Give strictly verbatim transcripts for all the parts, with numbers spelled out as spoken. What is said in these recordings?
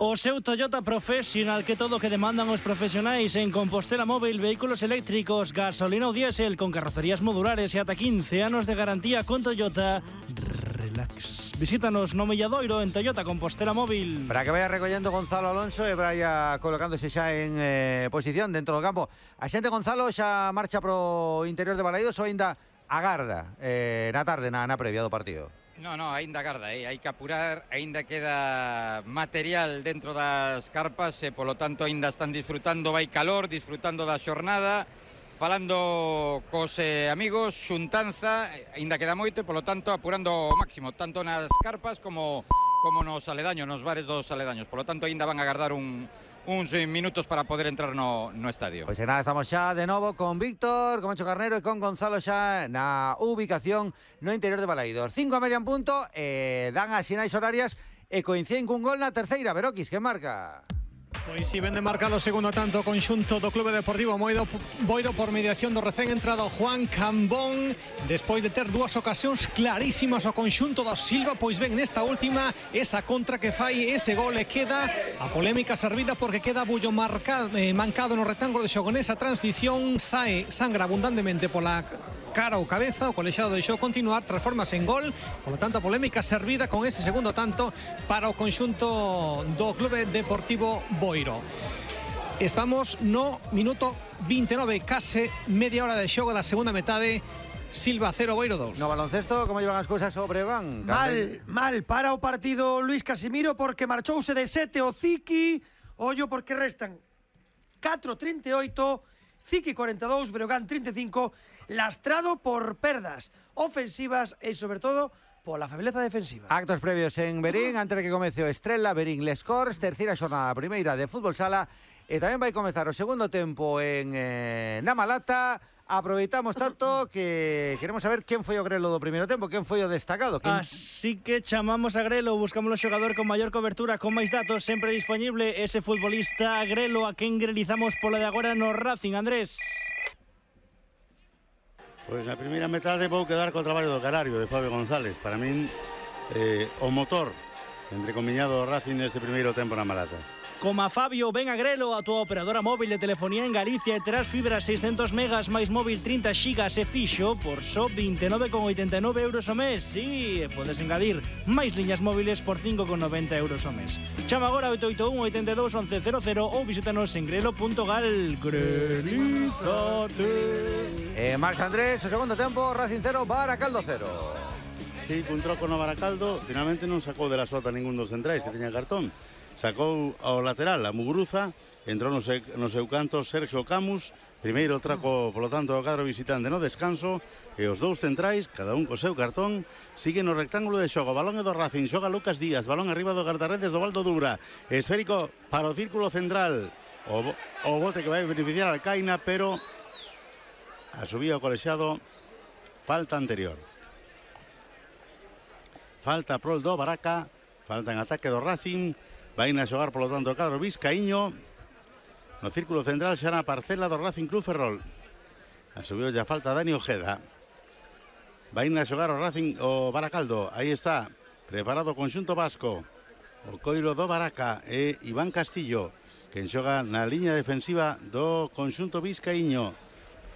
O seu Toyota Professional, que todo o que demandan os profesionais en Compostela Móvil, vehículos eléctricos, gasolina ou diésel, con carrocerías modulares e ata quince anos de garantía con Toyota. Relax. Visítanos no Milladoiro en Toyota Compostela Móvil. Para que vaya recollendo Gonzalo Alonso e vaya colocándose xa en eh, posición dentro do campo. A xente Gonzalo xa marcha pro interior de Balaidos ou ainda agarda eh, na tarde, na, na previa do partido? No, no, aínda agarda, eh? hai que apurar, aínda queda material dentro das carpas e polo tanto aínda están disfrutando, vai calor, disfrutando da xornada, falando cos eh, amigos, xuntanza, aínda queda moito e polo tanto apurando o máximo, tanto nas carpas como, como nos aledaños, nos bares dos aledaños, polo tanto aínda van a agardar un... uns minutos para poder entrar no, no estadio. Pois pues nada, estamos xa de novo con Víctor, con Mancho Carnero e con Gonzalo xa na ubicación no interior de Balaidos. Cinco a media en punto, eh, dan as sinais horarias e coinciden cun gol na terceira. Veroquis, que marca? Pois si, ven de marcar o segundo tanto conxunto do Clube Deportivo Boiro, Boiro por mediación do recén entrado Juan Cambón, despois de ter dúas ocasións clarísimas o conxunto do Silva, pois ben nesta última esa contra que fai ese gol e queda a polémica servida porque queda bullo marcado, eh, mancado no rectángulo de xogo nesa transición, sae sangra abundantemente pola cara ou cabeza, o colexiado deixou continuar, transformase en gol, por lo tanto a polémica servida con ese segundo tanto para o conxunto do Clube Deportivo Boiro. Estamos no minuto vinte e nove, case media hora de xogo da segunda metade. Silva cero, Boiro dos. No baloncesto, como llevan as cousas sobre Breogán? Mal, mal para o partido Luis Casimiro porque marchouse de sete o Ziki. Ollo porque restan catro trinta e oito, Ziki cuarenta e dous, Breogán trinta e cinco, lastrado por perdas ofensivas e sobre todo pola febleza defensiva. Actos previos en Berín, antes de que comece o Estrela, Berín Les Corts, terceira xornada primeira de fútbol sala, e tamén vai comezar o segundo tempo en eh, Namalata. Aproveitamos tanto que queremos saber quen foi o grelo do primeiro tempo, quen foi o destacado. Quen... Así que chamamos a Grelo, buscamos o xogador con maior cobertura, con máis datos, sempre disponible ese futbolista Grelo, a quen grelizamos polo de agora no Racing, Andrés. Pois na primeira metade vou quedar co traballo do Canario, de Fabio González. Para min, eh, o motor entrecomiñado do Racing neste primeiro tempo na Malata. Como a Fabio, ven a Grelo, a tua operadora móvil de telefonía en Galicia e terás fibra seiscentos megas máis móvil trinta xigas e fixo por só vinte e nove con oitenta e nove euros o mes. Si, sí, podes engadir máis liñas móviles por cinco con noventa euros o mes. Chama agora oito oito un, oito dos, once cero cero ou visítanos en grelo punto gal. Grelízate. Eh, Marc Andrés, o segundo tempo, Racing cero, Baracaldo cero. Sí, cun troco no Baracaldo, finalmente non sacou de la sota ningún dos centrais que teña cartón. Sacou ao lateral a Muguruza, entrou no, se, no seu canto Sergio Camus, primeiro traco polo tanto o cadro visitante no descanso, e os dous centrais, cada un co seu cartón, siguen no rectángulo de xogo. Balón é do Racing, xoga Lucas Díaz, balón arriba do guardarredes do Valdo Dubra, esférico para o círculo central, o, o bote que vai beneficiar al Caina, pero a subida o colexiado, falta anterior. Falta prol do Baraca, falta en ataque do Racing. Vai a xogar, polo tanto, o cadro Vizcaíño no círculo central xa na parcela do Racing Club Ferrol. A subiu ya falta Dani Ojeda. Vai a xogar o Racing o Baracaldo. Aí está, preparado o conxunto vasco. O coiro do Baraca e Iván Castillo, quen xoga na liña defensiva do conxunto Vizcaíño.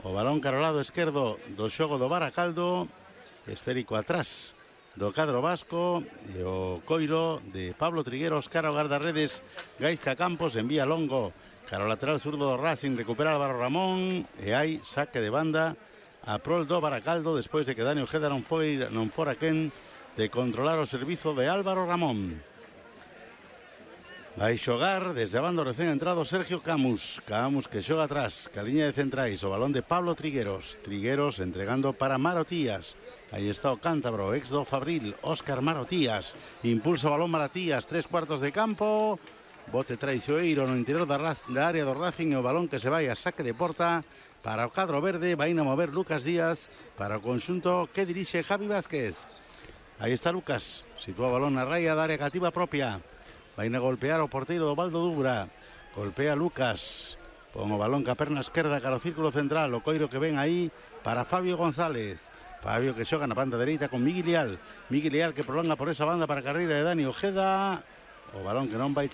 O balón carolado esquerdo do xogo do Baracaldo, esférico atrás do cadro vasco, e o coiro de Pablo Trigueros cara ao guardarredes Gaizka Campos, envía longo cara ao lateral zurdo do Racing, recupera Álvaro Ramón e hai saque de banda a prol do Baracaldo despois de que Dani Ojeda non foi non fora quen de controlar o servizo de Álvaro Ramón. Vai xogar desde a banda recén entrado Sergio Camus. Camus que xoga atrás, ca liña de centrais, o balón de Pablo Trigueros. Trigueros entregando para Marotías. Aí está o cántabro, ex do Fabril, Óscar Marotías. Impulsa o balón Marotías, tres cuartos de campo. Bote traicioneiro no interior da, da área do Racing, o balón que se vai a saque de porta para o cadro verde. Vai a mover Lucas Díaz para o conxunto que dirixe Javi Vázquez. Aí está Lucas, sitúa o balón na raya da área cativa propia. Vai a golpear o porteiro do Valdo Dubra. Golpea Lucas. Pon o balón ca perna esquerda cara ao círculo central. O coiro que ven aí para Fabio González. Fabio que xoga na banda dereita con Miguel Leal. Miguel Leal que prolonga por esa banda para a carreira de Dani Ojeda. O balón que non vai chegar